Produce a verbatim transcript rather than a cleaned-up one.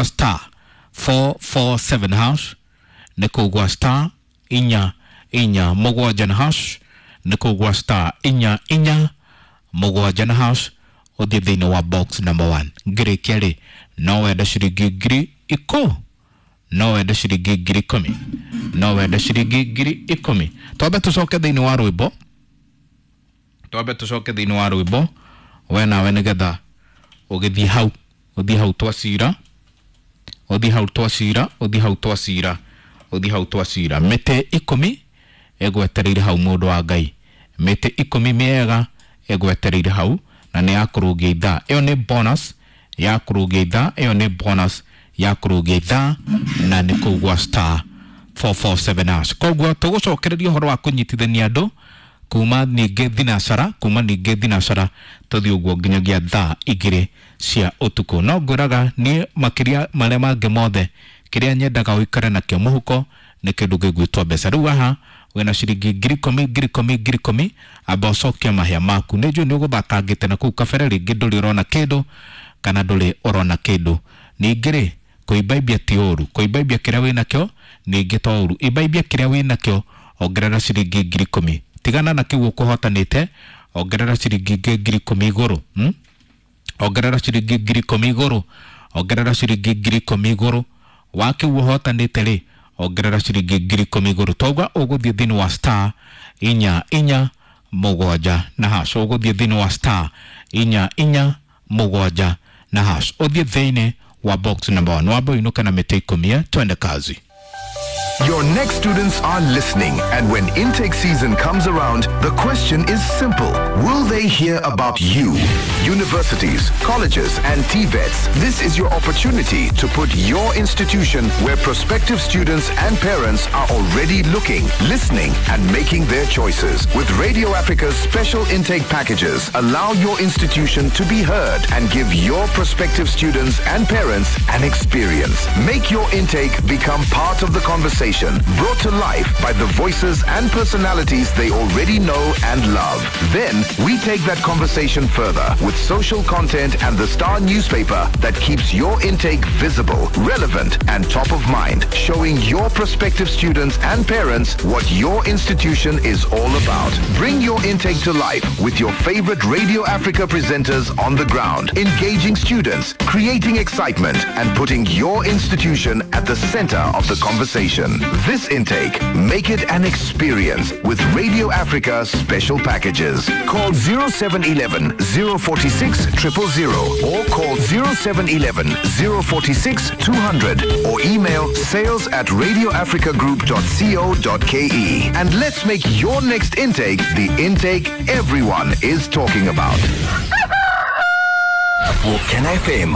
star four four seven hash, nĩ kũgwa star inya inya mũgwanja na hash, nĩ kũgwa star inya inya mũgwanja na hash, ũthiĩ thĩinĩ wa box number one. Ngĩrĩkia rĩ, no wende ciringi ngiri ikũ no wende ciringi ngiri ikũmi, no wende ciringi ngiri ikũmi. Twambe tũcoke thĩinĩ wa rwĩmbo, twambe tũcoke thĩinĩ wa rwĩmbo we nawe, nĩgetha ũgĩthiĩ hau, ũthiĩ hau twacira, ũthiĩ hau twacira, ũthiĩ hau twacira, ũthiĩ hau twacira. Mĩtĩ ikũmi ĩgwetereire hau, mũndũ wa Ngai, mĩtĩ ikũmi mĩega ĩgwetereire hau, na nĩ ya kũrũngia ithaa. Ĩyo nĩ bonus ya kũrũngia ithaa, ĩyo nĩ bonus ya kũrũngia ithaa, na nĩ kũu gwa star four four seven hash. Koguo tũgũcokereria ũhoro wa kũnyitithania andũ kuma ningĩ thinacara, kuma ningĩ thinacara tũthiĩ ũguo nginyagia thaa igĩrĩ cia ũtukũ. No ngwĩraga niĩ makĩria marĩa mangĩ mothe, kĩrĩa nyendaga ũikare nakĩo mũhuko nĩ kĩndũ gĩgwĩtwo mbeca. Rĩu haha wĩna ciringi ngiri ikũmi, ngiri ikũmi, ngiri ikũmi, amba ũcokie mahĩa maku. Nĩ njũĩ nĩ ũgũthakangĩte na kũu kabere, rĩngĩ ndũrĩ ũrona kĩndũ kana ndũrĩ ũrona kĩndũ. Ningĩ rĩ, kũimbaimbia ti ũru, kũimbaimbia kĩrĩa wĩnakĩo ningĩ to ũru. Imbaimbia kĩrĩa wĩnakĩo, ongerera ciringi ngiri ikũmi, tigana na kĩu ũkũhotanĩte, ongerera ciringi ingĩ ngiri ikũmi igũrũ, hmm? Ongerera ciringi ngiri ikũmi igũrũ, ongerera ciringi ngiri ikũmi igũrũ wa kĩu ũhotanĩte rĩ, ongerera ciringi ngiri ikũmi igũrũ. Tauga ũgũthiĩ thĩinĩ wa star inya inya mũgwanja na hash, ũgũthiĩ thĩinĩ wa star inya inya mũgwanja na hash, ũthiĩ thĩinĩ wa box number one, wambe ũinũke na mĩtĩ ikũmi. Eh, twende kazi. Your next students are listening, and when intake season comes around, the question is simple. Will they hear about you? Universities, colleges, and T VETs, this is your opportunity to put your institution where prospective students and parents are already looking, listening, and making their choices. With Radio Africa's special intake packages, allow your institution to be heard and give your prospective students and parents an experience. Make your intake become part of the conversation, brought to life by the voices and personalities they already know and love. Then we take that conversation further with social content and the Star newspaper that keeps your intake visible, relevant, and top of mind, showing your prospective students and parents what your institution is all about. Bring your intake to life with your favorite Radio Africa presenters on the ground, engaging students, creating excitement, and putting your institution at the center of the conversation. This intake, make it an experience with Radio Africa special packages. Call zero seven eleven, zero four six, triple zero or call zero seven eleven, zero four six, two hundred or email sales at radio africa group dot co dot K E. And let's make your next intake the intake everyone is talking about. Can F M.